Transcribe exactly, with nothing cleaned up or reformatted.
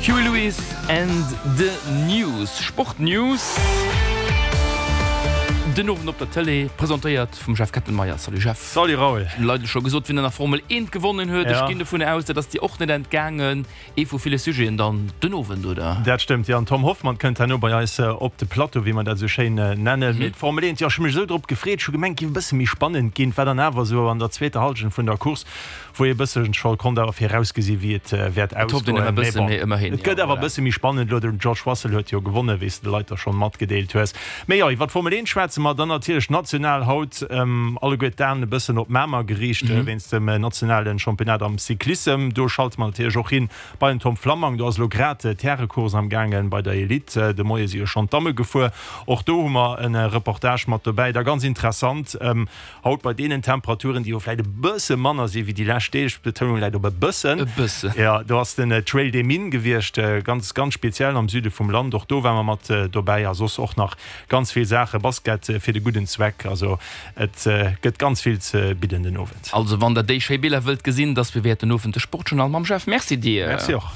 Huey Lewis and the News, Sport-News den Owend op der Tëlee, presentéiert vum Jeff Kettenmeyer. Salut Jeff. Salut Raoul. Hunn Leit scho gesot, wien an der Formel eent gewonnen huet. Ech ginn dovun aus, dat ass dir och net entgaangen. Ee vu ville Sujeten dann den Owend, oder? Dat stëmmt, jo. An Tom Hoffmann kënnt herno bei eis op de Plateau, wéi mer dat esou schéin nennen. Mee d'Formel eent, jo, ech hu mech esou drop gefreet. Ech hu gemengt, et géif e bësse méi spannend ginn. Et war dann awer esou an der zweeter Hallschent vun der Course, wou ee bësse scho konnt awer virausgesi wéi et wäert ausgoen. Mee bon, et gëtt awer e bësse méi spannend elo. Den George Russell huet jo gewonnen, wéi s de de Leit da schonn matgedeelt hues. Mee jo, iwwer d'Formel eent schwätze mer dann natierlech national haut. Alleguer d'Aen e bëssen op Mamer geriicht wéinst dem nationale Championnat am Cyclissem. Do schalte mer natierlech och hin bei den Tom Flammang. Do ass elo grad d'Härecourse am gaangen bei der Elite. De Moie si jo schonn d'Damme gefuer. Och do hu mer e Reportage mat dobäi. Da ganz interessant, Haut bei deenen Temperaturen, déi jo vläit e bësse manner si wéi déi lescht Deeg, d'Betounung läit op e bëssen, E bëssen. jo, do ass den Trail des Mines gewiescht, ganz, ganz speziell am Süde vum Land. Och do ware mer mat dobäi a soss och nach ganz vill Saachen, Basket fir de gudden Zweck. Also et gëtt ganz vill ze bidden den Owend. Also wann der déi schéi Biller wëllt gesinn, dass bewäert den Owend de Sportjournal mam Jeff. Merci dir. Merci och.